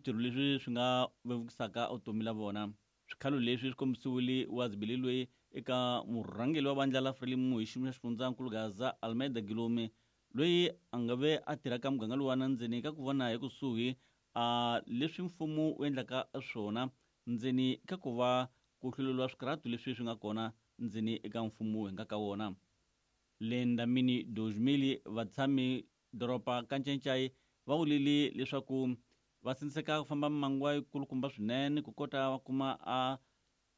Switirho leswi swi nga vevukisaka vutomi la vona. Swikhalo leswi swi kombisiwile wa zibili loyi eka murhangeri wa vandla la Frelimo hi xiyimo xa xifundzankulu Gaza Almeida Guillaume loyi a nga ve a tirha ka muganga luwana ndzeni ka ku vona hi kusuhi a leswi mfumo wu endlaka swona ndzeni ka ku va ku hluleriwa swikarhatu leswi swi nga kona ndzeni eka mfumo hi nga ka wona. Le Ndamini 2000 vatshami doroba ka Ncencai va vulile leswaku va sindziseka ku famba mimangwa yikulukumba swinene ku kota va kuma a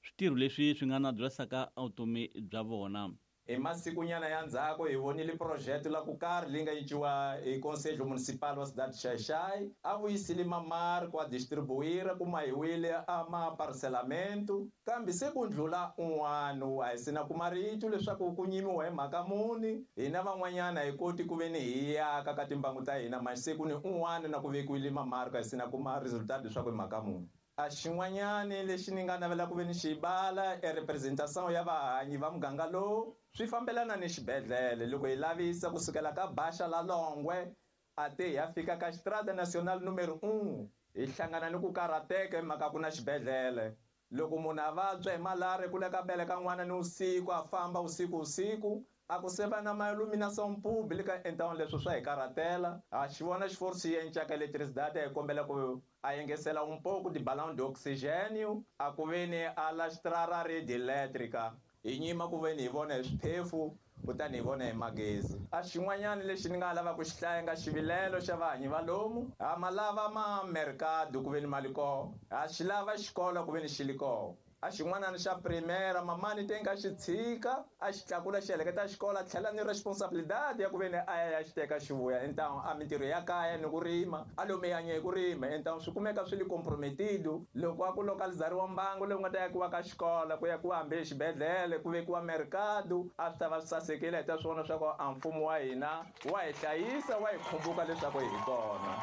switirho leswi swi nga na byasaka vutomi bya vona. Hi masikunyana ya ndzhaku hi vonile projeto la ku karhi leyi nga cinciwa hi Conselho Municipal wa Cidade Xai-Xai. A vuyisile mamarko a distribuira ku mahiwile a ma parcelamento, kambe se ku ndlula un'wana a hi sina kuma rito leswaku ku nyimiwa hi mhaka muni. Hina van'wanyana hi koti ku ve ni hi yaka ka timbangu ta hina, manje se ku ni un'wana na ku vekiwile mamarko a hi sina kuma resultado leswaku hi mhaka muni. A xin'wanyani lexi ni nga navela ku ve ni xi bala e representation ya vahanyi va muganga lowu swi fambelana ni xibedhlele. Loko hi lavisa kusukela ka Baixa la Longwe a te hi ya fika ka Estrada Nacional numero 1, hi hlangana ni ku karhateka hi mhaka ku na xibedhlele. Loko munhu a vabya hi malaria ku le ka beleka n'wana ni usiku, a famba usiku usiku, a ku se va na ma iluminação pública, então leswo swa hi karhatela. Ha xi vona xiforisi xi encaka eletricidade, hi kombela ku a engesela um pouco de balão de oxigênio, a ku ve ni a lastrar a rede elétrica. Hi nyima ku ve ni hi vona hi swiphefu, kutani hi vona hi magezi. A xin'wanyana lexi ni nga lava ku xi hlaya nga xivilelo xa vahanyi va lomu, ha ma lava ma mercado ku ve ni mali koho, ha xi lava xikolo ku ve ni xi li koho. A xin'wanana xa primera mamani te nga xi tshika a xi tlakula xi heleketa xikolo, a tlhela ni responsabilidade ya ku ve ni a ya ya xi teka xi vuya. Então a mintirho ya kaya ni ku rima a lomu ya nye ku rima, então swi kumeka swi li comprometido. Loko a ku localizariwa mbangu lowu nga ta yakiwa ka xikolo, ku yakiwa hambi exibedhlele, ku vekiwa mercado, a swi ta va swi sasekile. Hi ta swi vona swa ku a mfumo wa hina wa hi hlayisa, wa hi khumbuka leswaku hi kona.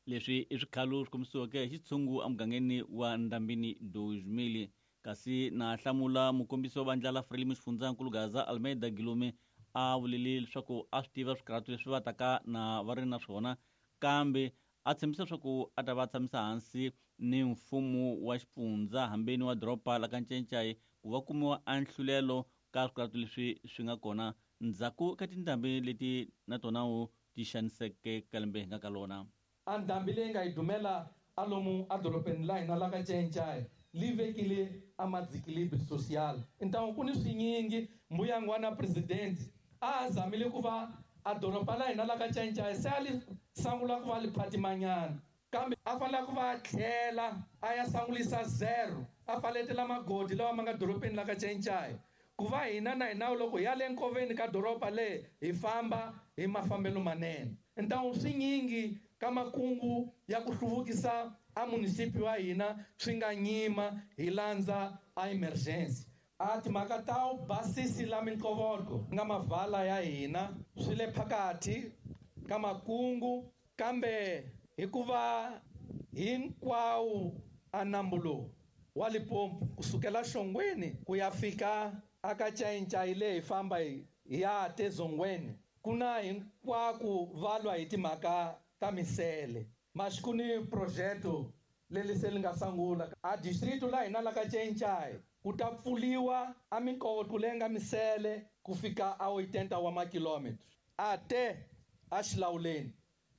Leswi i swikhalo swi kombisiweke hi xitshungu emugangeni wa Ndambini 2000. Kasi na hlamula mukombisi wa vandla la Frelimo xifundzankulu Gaza Almeida Guillaume a vulile leswaku a swi tiva swikarhatu leswi va taka na va ri na swona, kambe a tshembisa leswaku a ta va tshamisa hansi ni mfumo wa xifundza hambeni wa doroba la ka Ncencai ku va kumiwa a nhlulelo ka swikarhatu leswi swi nga kona ndzhaku ka tindhambi leti na tona wu ti xaniseke ka lembe hi nga ka lona. A ndhambi leyi nga hi dumela a lomu a dorobeni la hina la ka Ncencai li vekile a madzikilibri social. Então ku ni swinyingi mbuyangwana president a zamile ku va a doroba la hina la ka Ncencai se a li sangula ku va li phatimanyana, kambe a fanele ku va tlhela a ya sangulisa zero, a faletela magodi lawa ma nga dorobeni la ka Ncencai, ku va hina na hina loko hi ya le nkoveni ka doroba le hi famba hi mafambelo manene. Então swinyingi ka makungu ya ku hluvukisa a municipio wa hina swi nga nyima hi landza a emergency. A timhaka ta u basisi la minkovoko nga mavala ya hina swi le phakathi ka makungu, kambe hikuva hinkwawo a nambu lowu wa Limpopo kusukela Xongweni ku ya fika aka Ncayincai leyi hi famba hi ya tezongweni, ku na hinkwako va lwa hi timhaka ta misele. Mas ku ni projeto leri se li nga sungula a distrito la hina la ka Ncencai, ku ta pfuliwa a minkoto leyi nga misele ku fika a 80 wa makilometro a te a xilawuleni.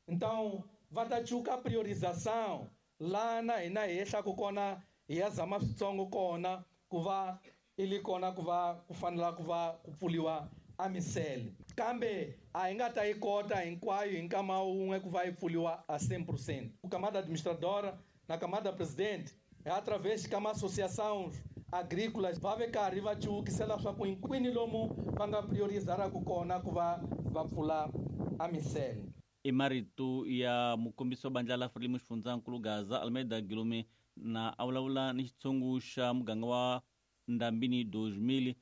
Então va ta cuka priorização lana hina hi yehlaku kona hi ya zama switsongo kona ku va i li kona ku va ku fanela ku va ku pfuliwa a misele, kambe a hi nga ta yi kota hinkwayo hi nkama wun'we ku va yi pfuliwa a 100%. Ku camada administradora na camada presidente hi através ka ma associações agrícolas va ve karhi va cuvukisela swa ku hinkwini lomu va nga priorizaraka kona ku va va pfula a misele. I marito ya mukombisi wa bandla la Frelimo xifundzankulu Gaza Almeida Guillaume na a vulavula ni xitshungu xa muganga wa Ndambini 2000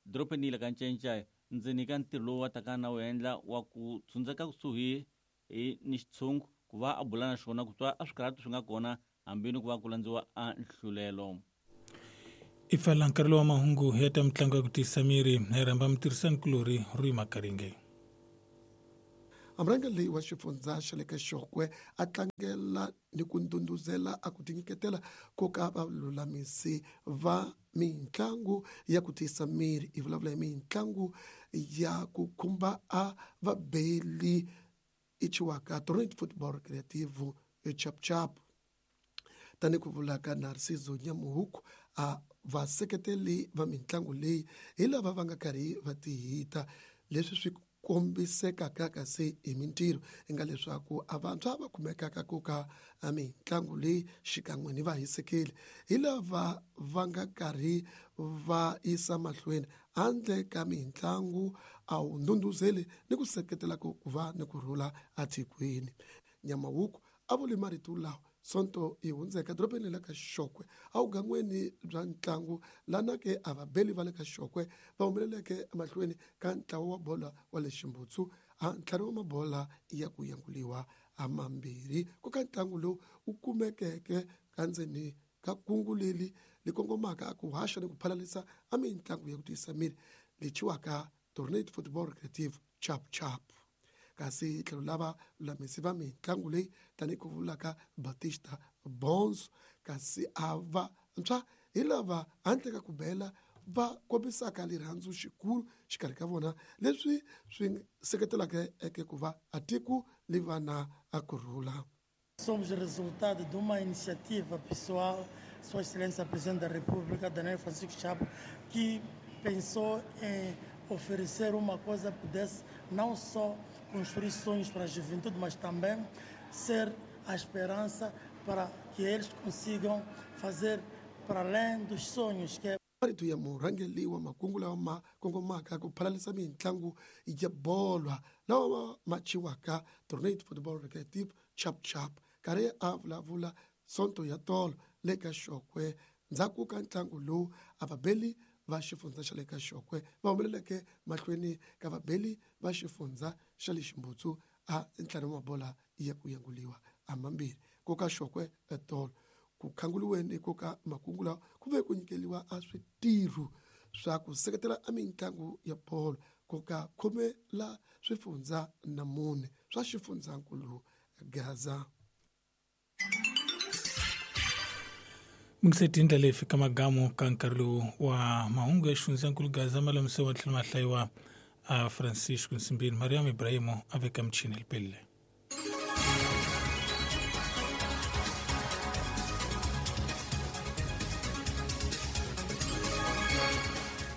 dorobeni la ka Ncencai ndzeni ka ntirho lowu wa taka na wu endla wa ku tshundzeka kusuhi hi ni xitshungu ku va a bula na xona ku twa a swikarhatu swi nga kona hambi ni ku va ku landziwa a nhlulelo. I pfala nkarhi lowa mahungu ya ta mitlangu ya ku tiyisa miri hi rhamba mutirhisani kulorhi Rui Makaringe. Murhangeri wa xifundza xa le ka Xokwe a tlangela ni ku ndhundhuzela a ku tinyiketela ko ka valulamisi va mitlangu ya ku tiyisa miri. Hi vulavula hi mitlangu ya ku khumba a vabeli i chiwaka Torrent Football Creative Chap Chap. Tani ku vulaka Narciso Nyamuhuku, a vaseketeli va mitlangu leyi hi lava va nga karhi va tihita, leswi swi kombisekaka kasi hi mintirho i nga leswaku a vantshwa va kumekaka ku ka mitlangu leyi xikan'we ni vahisekeli hi lava va nga karhi va yisa mahlweni handle ka mitlangu a wu ndhundhuzeli ni ku seketela ku va ni ku rhula atikweni. Nyamawuku a vuli marito lawa Sonto yi hundzeka dorobeni la ka Xokwe awugan'weni bya ntlangu lana ke a vabeli va le ka Xokwe va humeleleke emahlweni ka ntlawa wa bola wa le Ximbutsu a ntlhanu wa mabola ya ku yanguliwa a mambirhi ku ka ntlangu lowu wu kumekeke ka ndzeni ka kungu leri li kongomaka ku haxa ni ku phalalisa a mitlangu ya ku tiyisa miri lechiwaka Tornado Football Creative Chap Chap. Kasi tlhelo lava lulamisi va mitlangu leyi tanihi ku vulaka Batista Bonzo, kasi a va ntshwa hi lava handle ka ku bela va kombisaka rirhandzu xikulu xikarhi ka vona, leswi swi seketelaka eke ku va a tiko li va na a kurhula. Somos resultado de uma iniciativa pessoal, Sua Excelência Presidente da República, Daniel Francisco Chapo, que pensou em oferecer uma coisa que pudesse não só construir sonhos para a juventude, mas também ser a esperança para que eles consigam fazer para além dos sonhos que é Marito ya murhangeri wa makungu lawa ma kongomaka ku phalalisa mitlangu ya bolo lawa ma chiwaka Tornado Football Recreative Chap Chap, karhi a vulavula Sonto ya tolo le ka Xokwe ndzhaku ka ntlangu lowu a vabeli va xifundza xa le ka Xokwe va humeleleke mahlweni ka vabeli va xifundza xa le Ximbutsu a ntlhanu wa mabola ya ku yanguliwa a mambirhi ku ka Xokwe etolo. Ku khanguliweni ku ka makungu lawa ku ve ku nyikeliwa a switirho swa ku seketela a mitlangu ya bolo ku ka khume la swifundza na mune swa xifundzankulu Gaza. Mingiseti ndlela leyi fika magamu ka nkarhi lowu wa mahungu ya xifundzankulu Gaza malamise wa tlhelo mahlayiwa a Francisco Nsimbini. Mariam Ibrahimu a veka michini lipelile.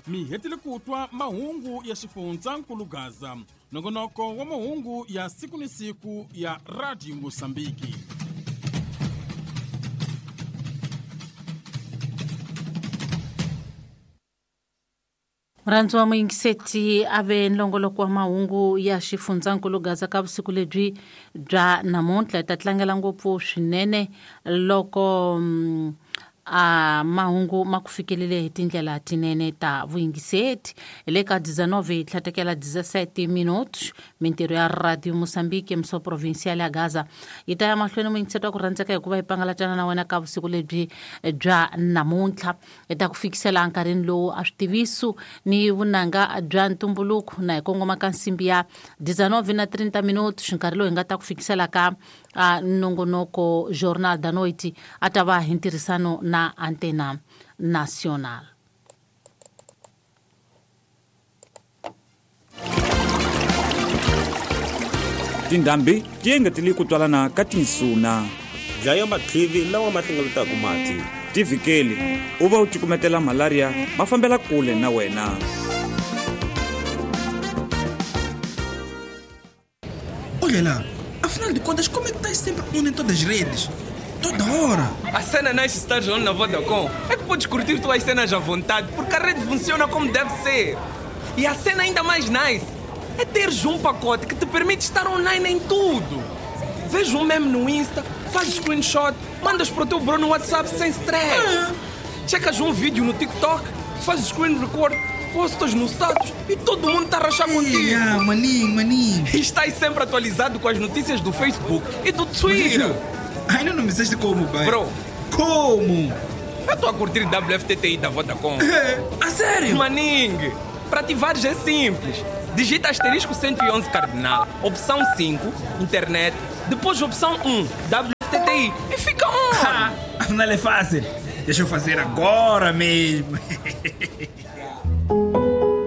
Mi hetile ku twa mahungu ya xifundzankulu Gaza, nongonoko wa mahungu ya siku ni siku ya Radio Mosambiki. Murhandzi wa muyingiseti a ve nlongoloko wa mahungu ya xifundzankulu Gaza ka vusiku lebyi bya namuntlha. Hi ta tlangela ngopfu swinene loko a mahungu ma ku fikelele hi tindlela tinene ta vuyingiseti. Hi le ka 19 tlhatekela 17 minutos, mintirho ya Radio Mosambiki mso provincial ya Gaza yi ta ya mahlweni muyingiseti wa ku rhandzeka hikuva yi pangalatana na wena ka vusiku lebyi bya namuntlha. Hi ta ku fikisela nkarhini lowu a switiviso ni vunanga bya ntumbuluko na hi kongoma ka nsimbi ya 19 na 30 minutos, nkarhi lowu hi nga ta ku fikisela ka nongonoko Jornal da Noite a ta va hi ntirhisano na Antena Nacional. Tindhambi ti engetele ku twalana ka tinsuna. Dlaya matlivi lawa ma hlengeletaka mati. Tivikeli u va u cukumetela malaria ma fambela kule na wena. Olha lá, afinal de contas, como é que estás sempre on em todas as redes? Toda hora. A cena nice estar on na Vodacom é que podes curtir tuas cenas à vontade, porque a rede funciona como deve ser. E a cena ainda mais nice é teres um pacote que te permite estar online em tudo. Vês um meme no Insta, fazes screenshot, mandas para o teu bro no WhatsApp sem stress. Checas um vídeo no TikTok, fazes screen record, postas no status e todo mundo está a rachar contigo. Ah, maninho, maninho. E estás sempre atualizado com as notícias do Facebook e do Twitter. Ainda não me disseste como, pai. Bro. Como? Eu estou a curtir WFTTI da Vodacom. A sério? Maningue, para ativares é simples. Digita asterisco 111 cardinal, opção 5, internet, depois opção 1, WTTI e fica on! Afinal é fácil. Deixa eu fazer agora mesmo.